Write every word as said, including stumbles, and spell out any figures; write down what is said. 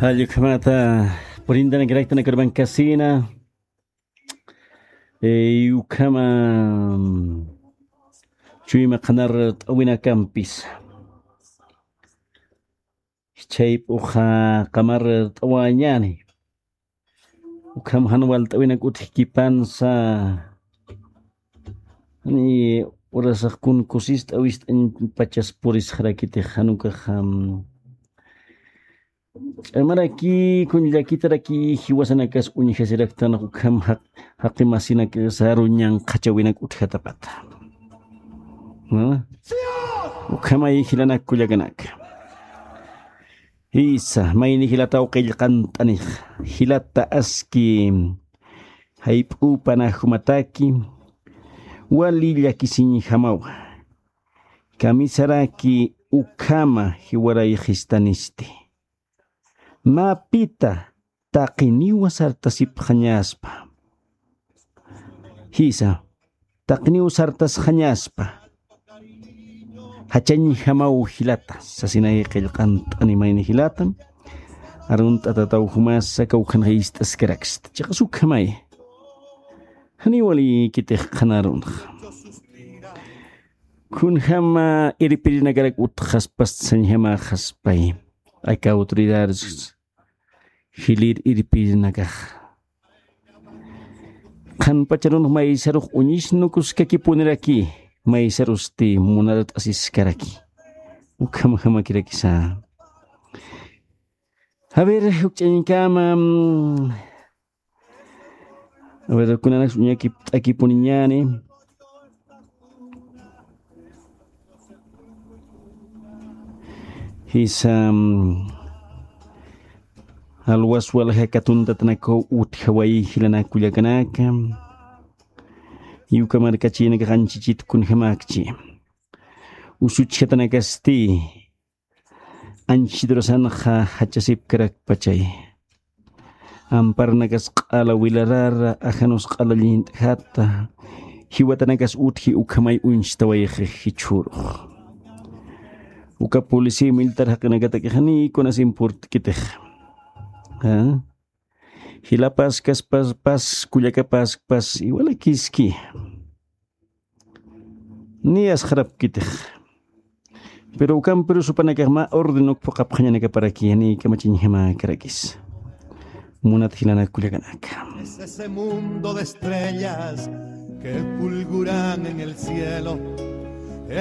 Allukhamata purintanakiraktan kurban kasina. Eh, ukhama, mm, chuyma qhanar t'awinakampis. Chayp'uxa qamar t'awañani. Ukham jan walt'awinak utjkipansa. Ni urasax kun kusist'a wist'añ pachas purisxarakitix jan ukax, am, ch'amaraki kun llakitaraki jiwasanakas uñjasiraktan ukham jaq-, jaqi masinak saru ñanqhachawinak utjatapata. ¿No? Ukhamay jilanak kullakanaka. Jisa, mayni jilataw qillqant'anix, jilata aski jayp'upanaj jumataki, wali llakisiñjamawa. Kamisaraki ukhama jiwarayxistanisti. Mä pita taqiniwa sartasipxañaspa. Jisa, taqiniw sartasxañaspa. Jachañjamaw jilata, sasinay qillqant'ani mayni jilata. Arunt'atataw jumasa kawkhanxa ist'askaraksta. Chiqas ukhamay. Janiw walikitix qhanarunxa. Kunjama irpirinakarak utxaspas sañjamaxaspay. Aka autoridades jilir irpirinakax. Qhanpacharunx maysarux uñisnukuskakipuniraki, maysarusti munarat'asiskaraki. Ukhamajamakirakisa. A ver, jukch'añkama, mm, a ver, kunanaks uñakipt'akipuniñani. Jisa, mm, alwas walja katuntatanakaw utjaway jilanak kullakanaka. Yuka markachinakax anchichit kunjamakchi. Usuchjatanakasti. Anchidurasanxa jachasipkarakpachay. Amparnakas q'ala wilarara, ajanus q'ala llint'jata, jiwatanakas utji ukhamay uñstawayxi jichhurux. Uka policía militar jaqinakatakixani kunas importkitix. ¿Ah? Jilapaskas pas, pas, kullakapaskas pas, iwalakiski. Ni asxarapkitix. Pero ukampiru supanakax mä orden uk phuqapxañanakaparaki, ni kamachiñjamakarakis. Munat jilanak kullakanaka. Es ese mundo de estrellas que fulguran en el cielo.